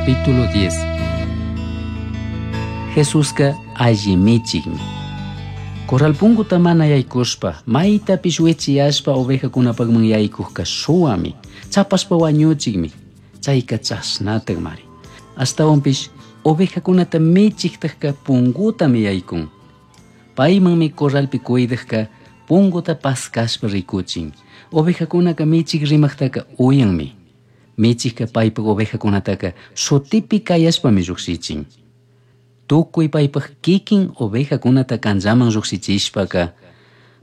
Capítulo 10. Jesusca alli michikmi. Corral punguta mana yaykushpa, maytapish wichiyashpa ovejakunapakman yaykukka shuwami, chapashpa wañuchikmi, chayka chashnatakmari. Ashtawanpish ovejakunata michiktakka pungutami yaykun. Paymanmi corralpi cuidakka punguta paskashpa rikuchin. Ovejakunaka michik rimaktaka uyanmi. Michikka paypak ovejakunataka shutipi kayashpami llukshichin. Tukuy paypak kikin ovejakunata kanllaman llukshichishtaka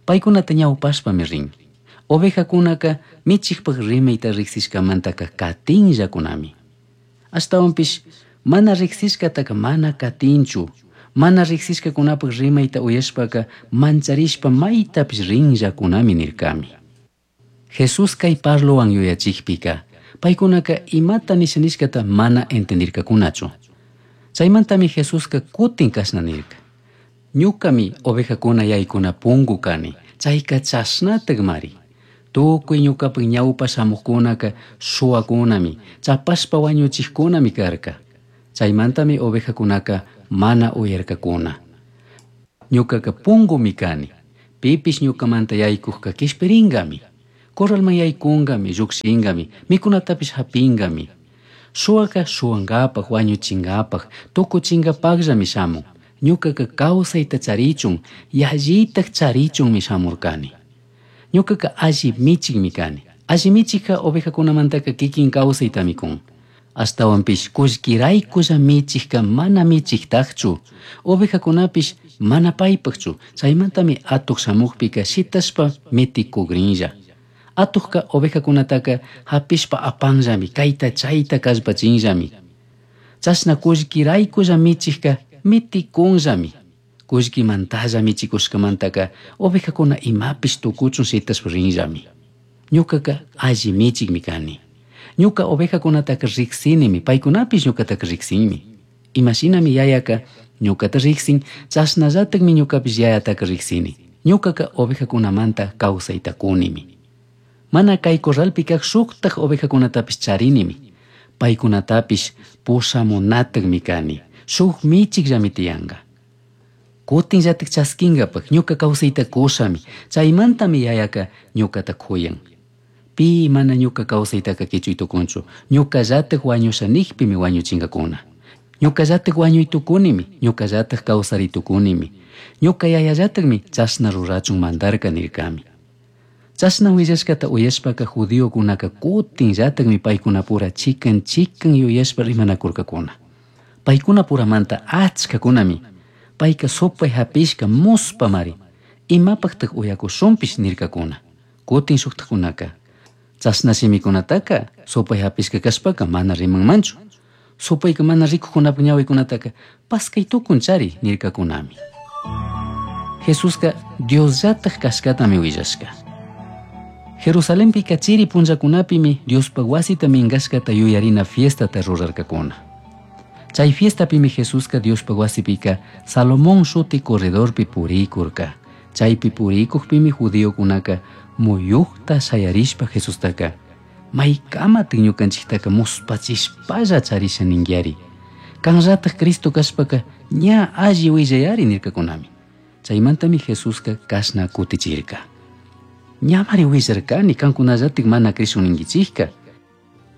paykunata ñawpashpami rin. Ovejakunaka michikpak rimayta riksishkamantaka katinllakunami. Ashtawanpish mana riksishkataka mana katinchu. Mana riksishkakunapak rimayta uyashpaka mancharishpa maytapish rinllakunami nirkami. Jesús kay parlowan yuyachikpika paykunaka imata nisha nishkata mana entendirkakunachu. Chaymantami Jesuska kutin kashna nirka: Ñukami ovejakuna yaykuna pungu kani, chayka chashnatakmari. Tukuy ñukapak ñawpa shamukkunaka shuwakunami, chapashpa wañuchikkunami karka. Chaymantami ovejakunaka mana uyarkakuna. Ñukaka pungumi kani, pipish ñukamanta yaykukka kishpirinkami. Corralman yaykunkami, llukshinkami, mikunatapish hapinkami. Shuwaka shuwankapak, wañuchinkapak, tukuchinkapakllami shamun. Ñukaka kawsayta charichun, yallitak charichunmi shamurkani. Ñukaka alli michikmi kani. Alli michikka ovejakunamantaka kikin kawsaytami kun. Ashtawanpish kullkiraykulla michikka mana michiktakchu, ovejakunapish mana paypakchu. Chaymantami atuk shamukpika shitashpa mitikukrinlla. Atukka ovejakunataka hapishpa apanllami, kayta chayta kallpachinllami. Chashna kullkiraykulla michikka mitikunllami. Kullkimantalla michikushkamantaka ovejakuna imapish tukuchun shitashpa rinllami. Ñukaka alli michikmi kani. Ñuka ovejakunataka riksinimi, paykunapish ñukataka riksinmi. Imashinami yayaka ñukata riksin, chashnallatakmi ñukapish yayataka riksini. Ñukaka ovejakunamanta kawsayta kunimi. Mana kay corralpi kak shuktak ovejakunatapish charinimi. Paykunatapish pushamunatakmi kani. Shuk michikllami tiyanka. Kutinllatak chaskinkapak ñuka kawsayta kushami. Chaymantami yayaka ñukata kuyan. Pi mana ñuka kawsaytaka kichuy tukunchu. Ñukallatak wañusha nikpimi wañuchinkakuna. Ñukallatak wañuy tukunimi, ñukallatak kawsari tukunimi. Ñuka yayallatakmi chashna rurachun mandarka nirkami. Chashna willashkata uyashpaka judiokunaka kutinllatakmi paykunapura chikan chikan yuyashpa rimanakurkakuna. Paykunapuramanta achkakunami payka supay hapishka muspamari, imapaktak uyakushunpish nirkakuna. Kutin shuktakunaka chashna shimikunataka supay hapishka kashpaka mana rimanmanchu. Supayka mana rikukkunapak ñawikunataka paskay tukunchari nirkakunami. Jesuska Diosllatak kashkatami willashka. Jerusalenpika chiri punllakunapimi Diospak wasita minkashkata yuyarina fiestata rurarkakuna. Chay fiestapimi Jesuska Diospak wasipika Salomón shuti corredorpi purikurka. Chaypi purikukpimi judiokunaka muyukta shayarishpa Jesustaka maykamatik ñukanchiktaka muspachishpalla charisha ninkiari. Kanllatak Cristo kashpaka ña alli willayari nirkakunami. Chaymantami Jesuska kashna kutichirka: Ñamari willarkani kankunallatik mana krishun ninkichikka.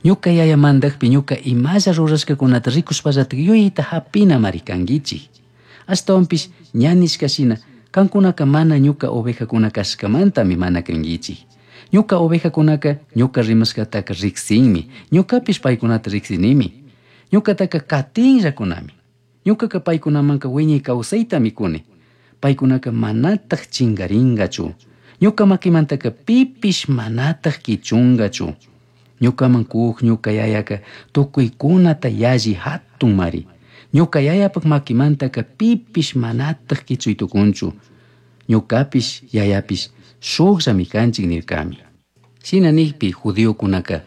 Ñuka yaya mandakpi ñuka imalla rurashkakunata rikushpallatik yuyayta hapinamari kankichik. Ashtawanpish ña nishka shina kankunaka mana ñuka ovejakuna kashkamantami mana krinkichik. Ñuka ovejakunaka ñuka rimashkataka riksinmi, ñukapish paykunata riksinimi. Ñukataka katinllakunami. Ñukaka paykunamanka wiñay kawsaytami kuni. Paykunaka manatak chinkarinkachu. Ñuka makimantaka pipish manatak kichunkachu. Ñukaman kuk ñuka yayaka tukuykunata yalli hatunmari. Ñuka yayapak makimantaka pipish manatak kichuy tukunchu. Ñukapish yayapish shukllami kanchik nirkami. Shina nikpi judiokunaka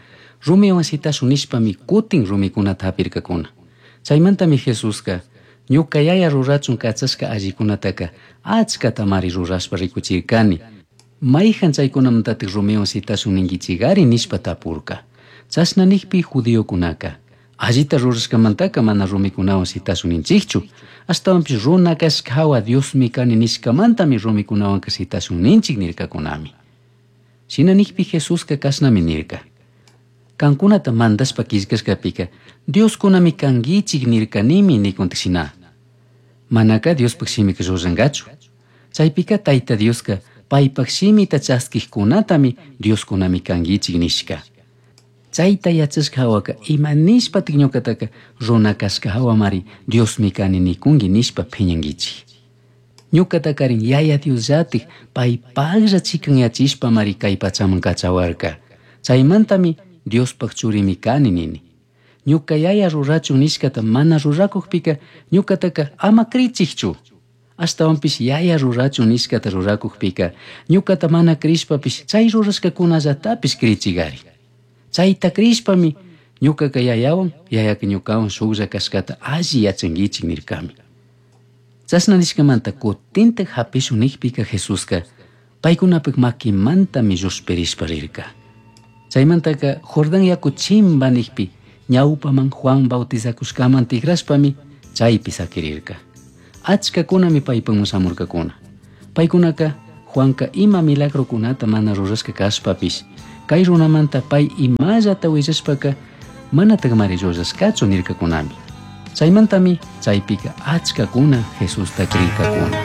rumiwan shitashun nishpami kutin rumikunata hapirkakuna. Chaymantami Jesuska ñuka yaya rurachun kachashka allikunataka achkatamari rurashpa rikuchirkani. Mayhan chaykunamantatik rumiwan shitashun ninkichikari nishpa tapurka. Chashna nikpi judiokunaka Allita rurashkamantaca mana rumikunawan shitashun ninchikchu. Ashtawanpish runa kashka hawa Diosmi kani nishkamantami rumikunawanka shitashun ninchik nirkakunami. Shina nikpi Jesuska kashnami nirka. Kankunata mandashpa killkashkapika Dioskunami kankichik nirkanimi nikuntik shina. Manaka Diospaj shimika llullankachu. Chaypika Tayta Dioska paypaj shimita chaskijkunatami Dioskunami kankichik nishka. Chayta yachashka hawaka ima nishpatik ñukataka runa kashka hawamari Diosmi kani nikunki nishpa phiñankichik. Ñukatakarin Yaya Diosllatik paypaklla chikanyachishpamari kay pachaman kachawarka. Chaymantami Diospaj churimi kani nini. Ñuka Yaya rurachun nishkata mana rurakukpika ñukataka ama krichikchu. Ashtawanpish Yaya rurachun nishkata rurakukpika ñukata mana krishpapish chay rurashkakunallatapish krichigari. Chayta krishpami ñukaka Yayawan, Yayaka ñukawan shuklla kashkata alli yachankichik nirkami. Chashna nishkamanta kutintak hapishun nikpika Jesuska paykunapak makimantami llushpirishpa rirka. Chaymantaka Jordán yaku chimba nikpi ñawpaman Juan bautizakushkaman tikrashpami chaypi sakirirka. Achkakunami paypaman shamurkakuna. Paykunaka Juanka ima milagrokunata mana rurashka kashpapish kay runamanta pay imallata willashpaka manatakmari llullashkachu nirkakunami. Chaymantami chaypika achkakuna Jesusta krirkakuna.